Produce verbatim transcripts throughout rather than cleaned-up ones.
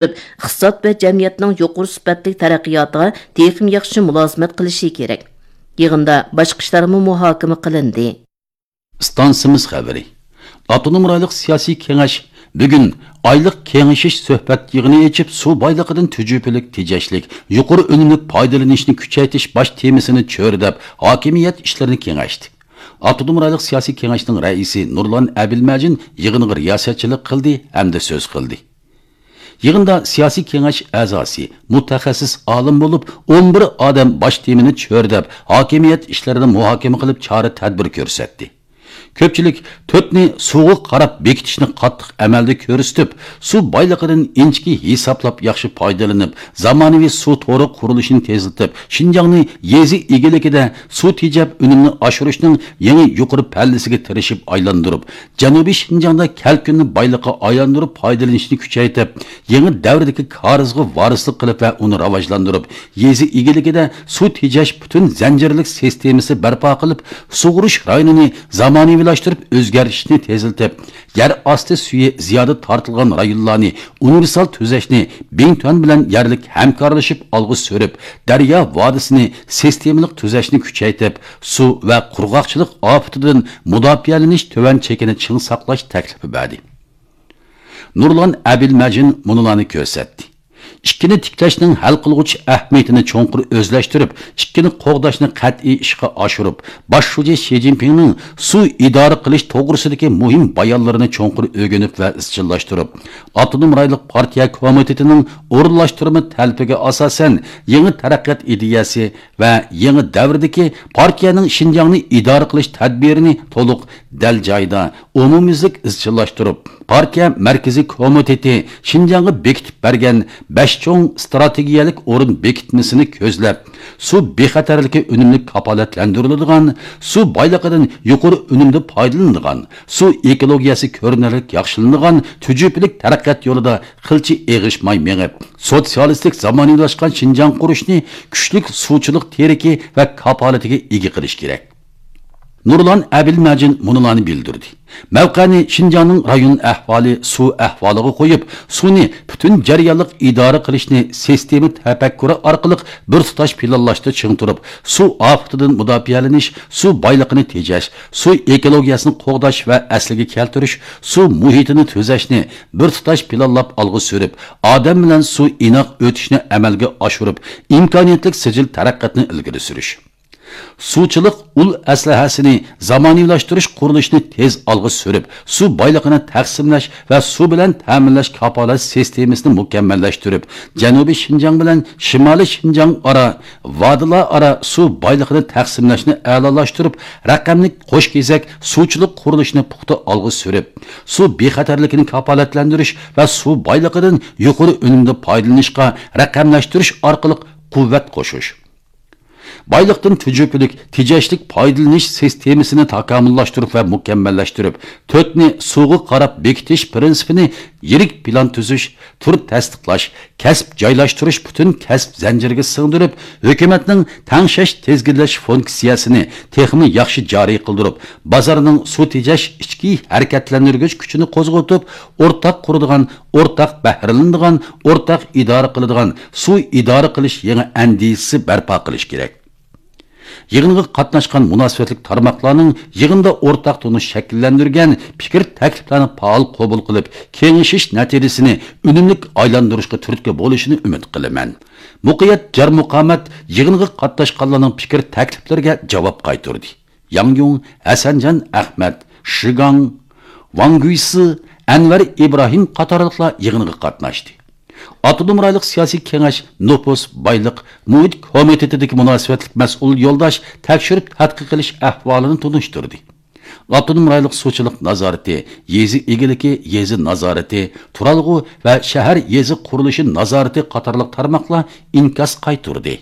ئىقتىساد ۋە جەمئىيەتنىڭ يۇقىرى سۈپەتلىك تەرەققىياتىغا تېخىمۇ ياخشى مۇلازىمەت قىلىشى كېرەك. يىغىندا باشقا ئىشلارمۇ مۇھاكىمە قىلىندى. ئىستانسىمىز خەۋىرى. ئاپتونوم رايونلۇق سىياسىي كېڭەش بۈگۈن ئايلىق كېڭىشىش سۆھبەت يىغىنى ئېچىپ، سۇ بايلىقىدىن تۈجۈپىلىك تېجەشلىك، يۇقىرى ئۈنۈملۈك پايدىلىنىشنى كۈچەيتىش باش تېمىسىنى چۆرىدەپ، ھاكىمىيەت ئىشلىرىنى كېڭەشتى. ئاپتونوم رايونلۇق سىياسىي كېڭەشنىڭ رەئىسى نۇرلان ئەبىلمەجىن يىغىنغا رىياسەتچىلىك قىلدى ھەمدە سۆز قىلدى. يىغىندا سىياسىي كېڭەش ئەزاسى، مۇتەخەسسىس ئالىم بولۇپ، ئون بىر ئادەم باش تېمىنى چۆرىدەپ، ھاكىمىيەت ئىشلىرىنى مۇھاكىمە قىلىپ، چارە-تەدبىر كۆرسەتتى. كۆپچىلىك تۆتنى سۇغا قاراپ بېكىتىشنى قاتتىق ئەمەلدە كۆرسىتىپ، سۇ بايلىقىدىن ئىنچىكە ھېسابلاپ ياخشى پايدىلىنىپ، زامانىۋى سۇ تورى قۇرۇلۇشىنى تېزلىتىپ، شىنجاڭنى يېزا ئىگىلىكىدە سۇ تېجەپ ئۈنۈمنى ئاشۇرۇشنىڭ يېڭى يۇقىرى پەللىسىگە تىرىشىپ ئايلاندۇرۇپ، جەنۇبىي شىنجاڭدا كەلكۈننى بايلىققا ئايلاندۇرۇپ پايدىلىنىشنى كۈچەيتىپ، يېڭى دەۋردىكى كارىزغا ۋارىسلىق قىلىپ ۋە ئۇنى راۋاجلاندۇرۇپ، يېزا ئىگىلىكىدە سۇ تېجەش پۈتۈن زەنجىرلىك سىستېمىسى بەرپا قىلىپ، سۇغۇرۇش رايونىنى زامانىۋىلاشتۇرۇپ ئۆزگەرتىشنى تېزلىتىپ، يەر ئاستى سۈيى زىيادە تارتىلغان رايونلارنى ئۇنىۋېرسال تۈزەشنى بىڭتۈەن بىلەن يەرلىك ھەمكارلىشىپ ئالغا سۈرۈپ، دەريا ۋادىسىنى سىستېمىلىق تۈزەشنى كۈچەيتىپ، سۇ ۋە قۇرغاقچىلىق ئاپىتىدىن مۇداپىئەلىنىش تۆۋەن چېكىنى چىڭ ساقلاش تەكلىپى بەردى. نۇرلان ئەبىلمەجىن مۇنۇلارنى كۆرسەتتى. ئىككىنى تىكلەشنىڭ ھەل قىلغۇچ ئەھمىيىتىنى چوڭقۇر ئۆزلەشتۈرۈپ، ئىككىنى قوغداشنى قەتئىي ئىشقا ئاشۇرۇپ، باش شۇجى شى جىنپىڭنىڭ سۇ ئىدارە قىلىش توغرىسىدىكى مۇھىم بايانلىرىنى چوڭقۇر ئۆگىنىپ ۋە ئىزچىللاشتۇرۇپ، ئاپتونوم رايونلۇق پارتىيە كومىتېتىنىڭ ئورۇنلاشتۇرما تەلىپىگە ئاساسەن، يېڭى تەرەققىيات ئىدىيەسى ۋە يېڭى دەۋردىكى پارتىيەنىڭ شىنجاڭنى ئىدارە قىلىش تەدبىرىنى تولۇق، دەل جايىدا، ئومۇميۈزلۈك ئىزچىللاشتۇرۇپ، پارتىيە مەركىزىي كومىتېتى شىنجاڭغا بېكىتىپ بەرگەن بەش چوڭ ئىستراتېگىيەلىك ئورۇن بېكىتمىسىنى كۆزلەپ، سۇ بىخەتەرلىكى ئۈنۈملۈك كاپالەتلەندۈرۈلىدىغان، سۇ بايلىقىدىن يۇقىرى ئۈنۈمدە پايدىلىنىدىغان، سۇ ئېكولوگىيەسى كۆرۈنەرلىك ياخشىلىنىدىغان تۈجۈپىلىك تەرەققىيات يولىدا قىلچە ئېغىشماي مېڭىپ، سوتسىيالىستىك زامانىۋىلاشقان شىنجاڭ قۇرۇشنى كۈچلۈك سۇچىلىق تىرىكى ۋە كاپالىتىگە ئىگە قىلىش كېرەك. نۇرلان ئەبىلمەجىن مۇنۇلارنى بىلدۈردى. مەۋقەنى شىنجاڭنىڭ رايون ئەھۋالى، سۇ ئەھۋالىغا قويۇپ، سۇنى پۈتۈن جەريانلىق ئىدارە قىلىشنى سىستېما تەپەككۇرى ئارقىلىق بىر تۇتاش پىلانلاشتا چىڭ تۇرۇپ، سۇ ئاپىتىدىن مۇداپىئەلىنىش، سۇ بايلىقىنى تېجەش، سۇ ئېكولوگىيەسىنى قوغداش ۋە ئەسلىگە كەلتۈرۈش، سۇ مۇھىتىنى تۈزەشنى بىر تۇتاش پىلانلاپ ئالغا سۈرۈپ، ئادەم بىلەن سۇ ئىناق ئۆتۈشنى ئەمەلگە ئاشۇرۇپ، ئىمكانىيەتلىك سىجىل تەرەققىياتنى ئىلگىرى سۈرۈش. سۇچىلىق ئۇل ئەسلىھەسىنى زامانىۋىلاشتۇرۇش قۇرۇلۇشىنى تېز ئالغا سۈرۈپ، سۇ بايلىقىنى تەقسىملەش ۋە سۇ بىلەن تەمىنلەش كاپالەت سىستېمىسىنى مۇكەممەللەشتۈرۈپ، جەنۇبىي شىنجاڭ بىلەن شىمالىي شىنجاڭ ئارا، ۋادىلار ئارا سۇ بايلىقىنى تەقسىملەشنى ئەلالاشتۇرۇپ، رەقەملىك قوش كېزەك سۇچىلىق قۇرۇلۇشىنى پۇختا ئالغا سۈرۈپ، سۇ بىخەتەرلىكىنى كاپالەتلەندۈرۈش ۋە سۇ بايلىقىدىن يۇقىرى ئۈنۈمدە پايدىلىنىشقا رەقەملەشتۈرۈش ئارقىلىق قۇۋۋەت قوشۇش. بايلىقتىن تۈجۈپىلىك تېجەشلىك پايدىلىنىش سىستېمىسىنى تاكامۇللاشتۇرۇپ ۋە مۇكەممەللەشتۈرۈپ، تۆتنى سۇغا قاراپ بېكىتىش پىرىنسىپىنى يىرىك پىلان تۈزۈش، تۈر تەستىقلاش، كەسىپ جايلاشتۇرۇش پۈتۈن كەسىپ زەنجىرىگە سىڭدۈرۈپ، ھۆكۈمەتنىڭ تەڭشەش، تىزگىنلەش فۇنكسىيەسىنى تېخىمۇ ياخشى جارى قىلدۇرۇپ، بازارنىڭ سۇ تېجەش ئىچكى ھەرىكەتلەندۈرگۈچ كۈچىنى قوزغىتىپ، ئورتاق قۇرىدىغان، ئورتاق بەھرىلىنىدىغان، ئورتاق ئىدارە قىلىدىغان سۇ ئىدارە قىلىش يېڭى ئەندىزىسى بەرپا قىلىش كېرەك. يىغىنغا قاتناشقان مۇناسىۋەتلىك تارماقلارنىڭ يىغىندا ئورتاق تونۇش شەكىللەندۈرگەن پىكىر تەكلىپلەرنى پائال قوبۇل قىلىپ، كېڭىشىش نەتىجىسىنى ئۈنۈملۈك ئايلاندۇرۇشقا تۈرتكە بولۇشىنى ئۈمىد قىلىمەن. مۇقىيەت جار مۇقامەت يىغىنغا قاتناشقانلارنىڭ پىكىر تەكلىپلىرىگە جاۋاب قايتۇردى. ياڭ يۇڭ، ھەسەنجان ئەخمەت، شىگاڭ، ۋاڭ گۈيسى، ئەنۋەر ئىبراھىم قاتارلىقلار يىغىنغا قاتناشتى. ئاپتونوم رايونلۇق سىياسىي كېڭەش نوپۇس، بايلىق، مۇھىت كومىتېتىدىكى مۇناسىۋەتلىك مەسئۇل يولداش تەكشۈرۈپ تەتقىق قىلىش ئەھۋالىنى تونۇشتۇردى. ئاپتونوم رايونلۇق سۇچىلىق نازارىتى، يېزا ئىگىلىكى، يېزا نازارىتى، تۇرالغۇ ۋە شەھەر يېزا قۇرۇلۇشى نازارىتى قاتارلىق تارماقلار ئىنكاس قايتۇردى.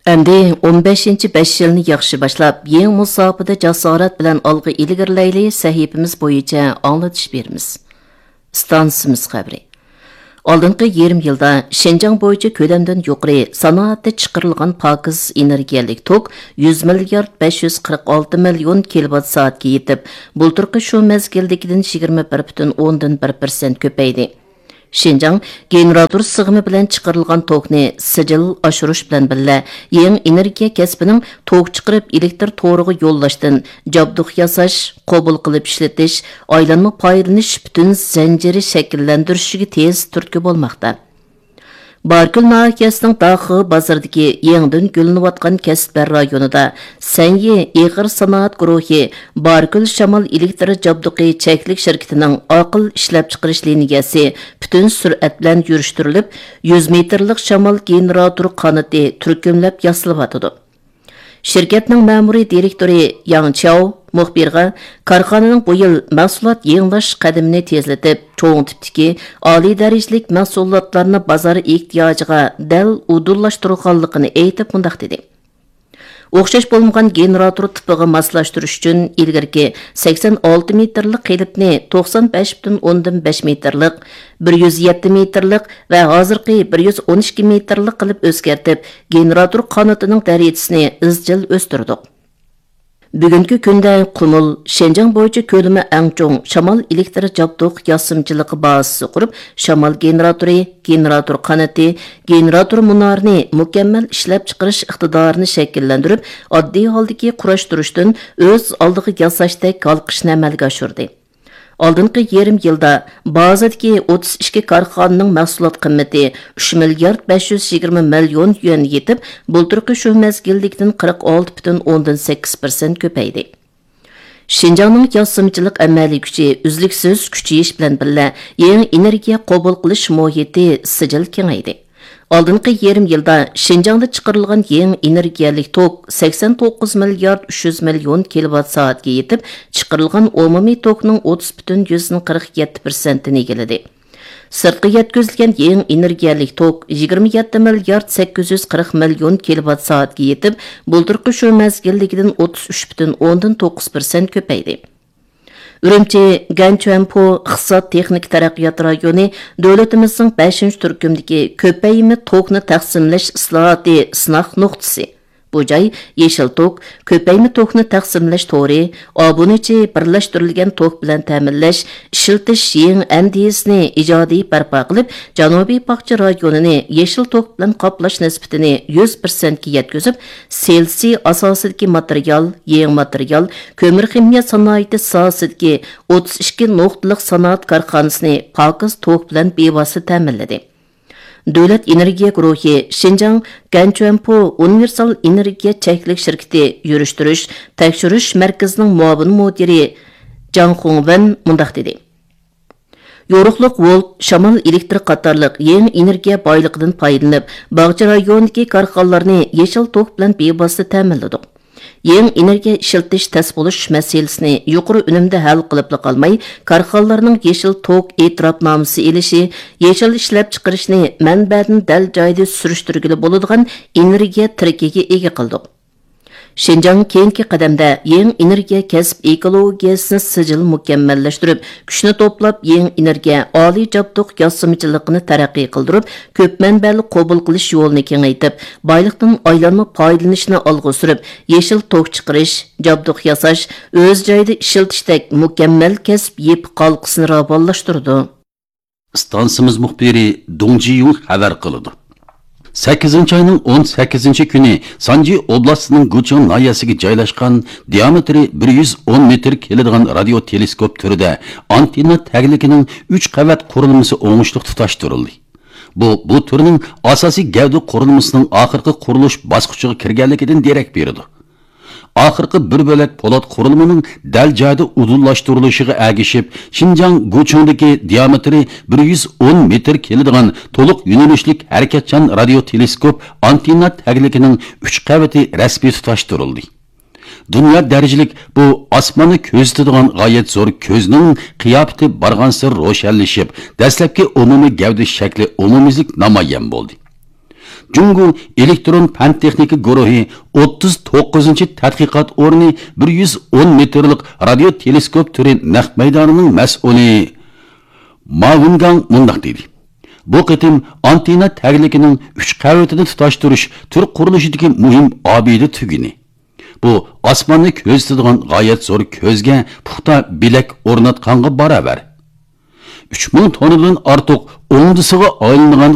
ئەمدى ئون بەشىنچى بەش يىلنى ياخشى باشلاپ، يېڭى مۇساپىدە جاسارەت بىلەن ئالغا ئىلگىرىلەيلى سەھىپىمىز بويىچە ئاڭلىتىش بېرىمىز. ئىستانسىمىز خەۋىرى. ئالدىنقى يېرىم يىلدا شىنجاڭ بويىچە كۆلەمدىن يۇقىرى سانائەتتە چىقىرىلغان پاكىز ئېنېرگىيەلىك توك يۈز مىليارد بەش يۈز قىرىق ئالتە مىليون كىلوۋات سائەتكە يېتىپ، بۇلتۇرقى شۇ مەزگىلدىكىدىن يىگىرمە بىر پۈتۈن ئوندىن بىر پىرسەنت كۆپەيدى. شىنجاڭ گېنېراتور سىغىمى بىلەن چىقىرىلغان توكنى سىجىل ئاشۇرۇش بىلەن بىللە، يېڭى ئېنېرگىيە كەسپىنىڭ توك چىقىرىپ ئېلېكتر تورىغا يوللاشتىن، جابدۇق ياساش، قوبۇل قىلىپ ئىشلىتىش، ئايلانما پايدىلىنىش پۈتۈن زەنجىرى شەكىللەندۈرۈشىگە تېز تۈرتكە بولماقتا. باركۆل ناھىيەسىنىڭ داخۇ بازىرىدىكى يېڭىدىن گۈللىنىۋاتقان كەسىپلەر رايونىدا سەنيى ئېغىر سانائەت گۇرۇھى باركۆل شامال ئېلېكتر جابدۇقى چەكلىك شىركىتىنىڭ ئاقىل ئىشلەپچىقىرىش لىنىيەسى پۈتۈن سۈرئەت بىلەن يۈرۈشتۈرۈلۈپ، يۈز مېتىرلىق شامال گېنېراتور قانىتى تۈركۈملەپ ياسىلىۋاتىدۇ. شىركەتنىڭ مەمۇرىي دىرېكتورى ياڭ چياۋ مۇخبىرغا كارخانىنىڭ بۇ يىل مەھسۇلات يېڭىلاش قەدىمىنى تېزلىتىپ، چوڭ تىپتىكى ئالىي دەرىجىلىك مەھسۇلاتلارنى بازار ئېھتىياجىغا دەل ئۇدۇللاشتۇرغانلىقىنى ئېيتىپ، مۇنداق دېدى: ئوخشاش بولمىغان گېنېراتور تىپىغا ماسلاشتۇرۇش ئۈچۈن ئىلگىرىكى سەكسەن ئالتە مېتىرلىق قېلىپنى توقسان بەش پۈتۈن ئوندىن بەش مېتىرلىق، بىر يۈز يەتتە مېتىرلىق ۋە ھازىرقى بىر يۈز ئون ئىككى مېتىرلىق قىلىپ ئۆزگەرتىپ، گېنېراتور قانىتىنىڭ دەرىجىسىنى ئىزچىل ئۆستۈردۇق. بۈگۈنكى كۈندە قۇمۇل، شىنجاڭ بويىچە كۆلىمى ئەڭ چوڭ شامال ئېلېكتر جابدۇق ياسىمىچىلىقى بازىسى قۇرۇپ، شامال گېنېراتورى، گېنېراتور قانىتى، گېنېراتور مۇنارىنى مۇكەممەل ئىشلەپچىقىرىش ئىقتىدارىنى شەكىللەندۈرۈپ، ئاددىي ھالدىكى قۇراشتۇرۇشتىن ئۆز ئالدىغا ياساشتەك ھالقىشنى ئەمەلگە ئاشۇردى. ئالدىنقى يېرىم يىلدا بازىدىكى ئوتتۇز ئىككى كارخانىنىڭ مەھسۇلات قىممىتى ئۈچ مىليارد بەش يۈز يىگىرمە مىليون يۈەن يېتىپ، بۇلتۇرقى شۇ مەزگىلدىكىدىن قىرىق ئالتە پۈتۈن ئوندىن سەككىز پىرسەنت كۆپەيدى. شىنجاڭنىڭ ياسىمىچىلىق ئەمەلىي كۈچى ئۈزلۈكسىز كۈچىيىش بىلەن بىللە، يېڭى ئېنېرگىيە قوبۇل قىلىش مۇھىتى سىجىل كېڭەيدى. ئالدىنقى يېرىم يىلدا شىنجاڭدا چىقىرىلغان يېڭى ئېنېرگىيەلىك توك سەكسەن توققۇز مىليارد ئۈچ يۈز مىليون كىلوۋات سائەتكە يېتىپ، چىقىرىلغان ئومۇمىي توكنىڭ ئوتتۇز پۈتۈن يۈزدىن قىرىق يەتتە پىرسەنتىنى ئىگىلىدى. سىرتقا يەتكۈزۈلگەن يېڭى ئېنېرگىيەلىك توك يىگىرمە يەتتە مىليارد سەككىز يۈز قىرىق مىليون كىلوۋات سائەتكە يېتىپ، بۇلتۇرقى شۇ مەزگىلدىكىدىن ئوتتۇز ئۈچ پۈتۈن ئوندىن توققۇز پىرسەنت كۆپەيدى. ئۈرۈمچى گەنچۈەنپو ئىقتىساد تېخنىكا تەرەققىيات رايونى دۆلىتىمىزنىڭ بەشىنچى تۈركۈمدىكى كۆپەيمە توكنى تەقسىملەش ئىسلاھاتى سىناق نۇقتىسى. بۇ جاي يېشىل توك، كۆپەيمە توكنى تەقسىملەش تورى، ئابۇنىچى بىرلەشتۈرۈلگەن توك بىلەن تەمىنلەش، ئىشلىتىش يېڭى ئەندىزىسىنى ئىجادىي بەرپا قىلىپ، جەنۇبىي باغچە رايونىنى يېشىل توك بىلەن قاپلاش نىسبىتىنى يۈز پىرسەنتكە يەتكۈزۈپ، سېلىسى ئاساسىدىكى ماتېرىيال، يېڭى ماتېرىيال، كۆمۈر خىمىيە سانائىتى ساھەسىدىكى ئوتتۇز ئىككى نۇقتىلىق سانائەت كارخانىسىنى پاكىز توك بىلەن بىۋاسىتە تەمىنلىدى. دۆلەت ئېنېرگىيە گۇرۇھى شىنجاڭ گەنچۈەنپو ئۇنىۋېرسال ئېنېرگىيە چەكلىك شىركىتى يۈرۈشتۈرۈش، تەكشۈرۈش مەركىزىنىڭ مۇئاۋىن مۇدىرى جاڭ خۇڭۋېن مۇنداق دېدى: يورۇقلۇق ۋولت شامال ئېلېكتر قاتارلىق يېڭى ئېنېرگىيە بايلىقىدىن پايدىلىنىپ، باغچە رايونىدىكى كارخانىلارنى يېشىل توك بىلەن بىۋاسىتە تەمىنلىدۇق. يېڭى ئېنېرگىيە ئىشلىتىش تەس بولۇش مەسىلىسىنى يۇقىرى ئۈنۈمدە ھەل قىلىپلا قالماي، كارخانىلارنىڭ يېشىل توك ئېتىراپنامىسى ئېلىشى، يېشىل ئىشلەپچىقىرىشنى مەنبەدىن دەل جايىدا سۈرۈشتۈرگىلى بولىدىغان ئېنېرگىيە تىرىكىگە ئىگە قىلدۇق. شىنجاڭ كېيىنكى قەدەمدە يېڭى ئېنېرگىيە كەسىپ ئېكولوگىيەسىنى سىجىل مۇكەممەللەشتۈرۈپ، كۈچنى توپلاپ، يېڭى ئېنېرگىيە ئالىي جابدۇق ياسىمىچىلىقىنى تەرەققىي قىلدۇرۇپ، كۆپ مەنبەلىك قوبۇل قىلىش يولىنى كېڭەيتىپ، بايلىقتىن ئايلانما پايدىلىنىشنى ئالغا سۈرۈپ، يېشىل توك چىقىرىش، جابدۇق ياساش، ئۆز جايىدا ئىشلىتىشتەك مۇكەممەل كەسىپ يېپىق ھالقىسىنى راۋانلاشتۇرىدۇ. ئىستانسىمىز مۇخبىرى دۇڭ جىيۇڭ خەۋەر قىلىدۇ. سەككىزىنچى ئاينىڭ ئون سەككىزىنچى كۈنى سانجى ئوبلاستىنىڭ گۇچىڭ ناھىيەسىگە جايلاشقان دىئامېتىرى بىر يۈز ئون مېتىر كېلىدىغان رادىيو تېلېسكوپ تۈرىدە ئانتېننا تەگلىكىنىڭ ئۈچ قەۋەت قۇرۇلمىسى ئوڭۇشلۇق تۇتاشتۇرۇلدى. بۇ، بۇ تۈرنىڭ ئاساسىي گەۋدە قۇرۇلمىسىنىڭ ئاخىرقى قۇرۇلۇش باسقۇچىغا كىرگەنلىكىدىن دېرەك بېرىدۇ. ئاخىرقى بىر بۆلەك پولات قۇرۇلمىنىڭ دەل جايىدا ئۇدۇللاشتۇرۇلۇشىغا ئەگىشىپ، شىنجاڭ گۇچىڭدىكى دىئامېتىرى بىر يۈز ئون مېتىر كېلىدىغان تولۇق يۆنىلىشلىك ھەرىكەتچان رادىيو تېلېسكوپ ئانتېننا تەگلىكىنىڭ ئۈچ قەۋىتى رەسمىي تۇتاشتۇرۇلدى. دۇنيا دەرىجىلىك بۇ ئاسماننى كۆزىتىدىغان غايەت زور كۆزنىڭ قىياپىتى بارغانسېرى روشەنلىشىپ، دەسلەپكى ئومۇمىي گەۋدە شەكلى ئومۇميۈزلۈك نامايان بولدى. جۇڭگو ئېلېكترون پەن تېخنىكا گۇرۇھى ئوتتۇز توققۇزىنچى تەتقىقات ئورنى بىر يۈز ئون مېتىرلىق رادىيو تېلېسكوپ تۈرى نەق مەيدانىنىڭ مەسئۇلى ما ۋېنگاڭ مۇنداق دېدى: بۇ قېتىم ئانتېننا تەگلىكىنىڭ ئۈچ قەۋىتىنى تۇتاشتۇرۇش تۈر قۇرۇلۇشىدىكى مۇھىم ئابىدە تۈگۈنى. بۇ ئاسماننى كۆزىتىدىغان غايەت زور كۆزگە پۇختا بىلەك ئورناتقانغا باراۋەر. ئۈچ مىڭ توننىدىن ئارتۇق ئوڭدىسىغا ئايلىنىدىغان